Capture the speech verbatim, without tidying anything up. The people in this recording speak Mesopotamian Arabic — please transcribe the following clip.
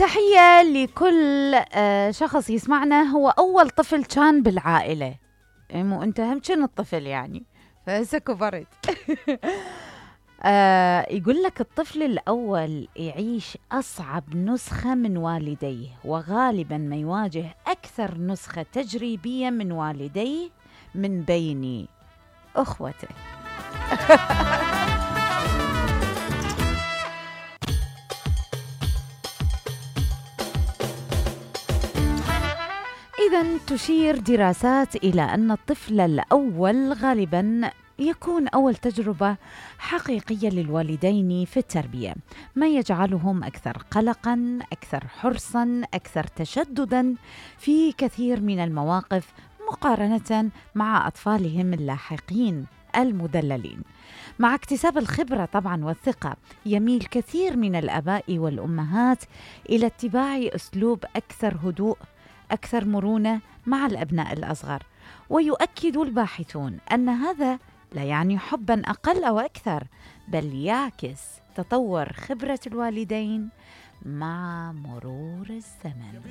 تحية لكل آه شخص يسمعنا هو أول طفل كان بالعائلة. مو أنت هم كن الطفل يعني، فهسه كبرت. آه يقول لك الطفل الأول يعيش أصعب نسخة من والديه، وغالبا ما يواجه أكثر نسخة تجريبية من والديه من بين أخوته. إذن تشير دراسات إلى أن الطفل الأول غالباً يكون أول تجربة حقيقية للوالدين في التربية، ما يجعلهم أكثر قلقاً، أكثر حرصاً، أكثر تشدداً في كثير من المواقف مقارنة مع أطفالهم اللاحقين المدللين. مع اكتساب الخبرة طبعاً والثقة، يميل كثير من الآباء والأمهات إلى اتباع أسلوب أكثر هدوء، أكثر مرونة مع الأبناء الأصغر. ويؤكد الباحثون أن هذا لا يعني حباً أقل أو أكثر، بل يعكس تطور خبرة الوالدين مع مرور الزمن.